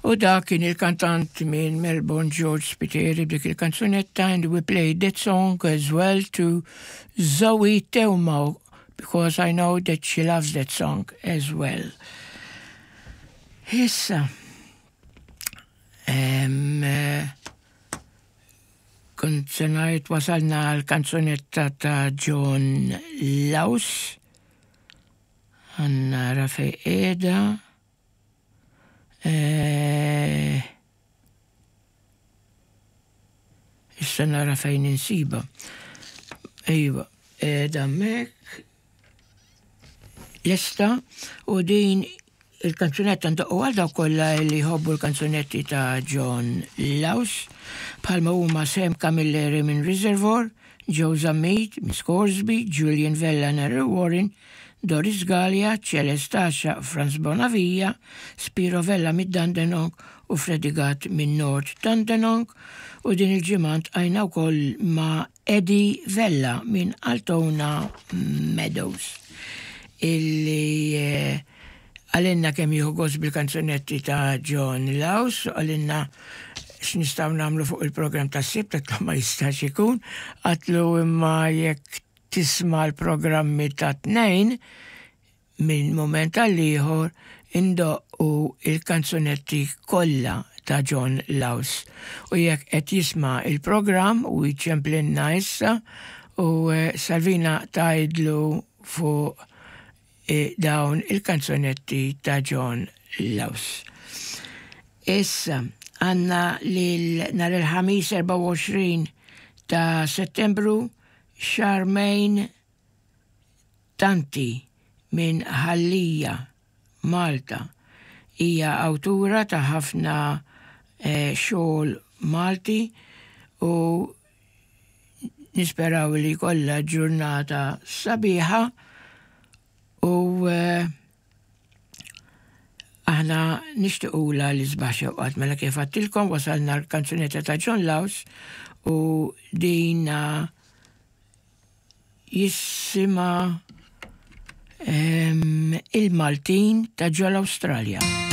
U dak kien il-kantant minn Melbourne George Spiteri b'dik il-kanzunetta and we played that song as well to Zoe Teuma because I know that she loves that song as well. Issa, eh, kont se ngħid wasalna l-kanzunetta ta' John Laus. Għanna fej qiegħda. Eh, issa nara fejn insiba. Iva, qiegħda hemmhekk. Lesta u din il-kanzunetta ndoqqu għal dawk kollha li jħobbu l-kanzunetti ta' John Laus bħalma huma Sam Camilleri minn Reservoir, Joe Zammit minn Scoresby, Julian Vella Narrow Warren, Doris Galea, Celeste Asha, Franz Bonavia, Spiro Vella mid-Dandenong u Freddie Gatt minn North Dandenong u din il-ġimgħa ntqajna wkoll ma' Eddie Vella minn Altona Meadows illi eh, għalinna kemm jieħu gost bil-kanzunetti ta' John Laus, għalinna x'nistgħu nagħmlu fuq il-programm tas-sibt, għatlu ma jistax ikun, għatlu imma jekk tisma' l-programmi ta' tnejn minn mument għal ieħor indoqqu il-kanzunetti kollha ta' John Laus. U jekk qed jisma' il-programm u jċemplinna issa u eh, Salvina tgħidlu fuq eh, dawn il-kanzunetti ta' John Laus. Issa, għanna lil nhar il-ħamis 24 ta' settembru Charmaine Tanti minn Ħal Lija, Malta. Hija awtura ta' ħafna eh, xogħol Malti u nisperaw li jkollha ġurnata sabiħa u eh, aħna nixtiqula l-isbaħ xewqat mela kif għattilkom wasalna l-kanzunetta ta' John Laus u din jisima il-Maltin ta' ġol Awstralja.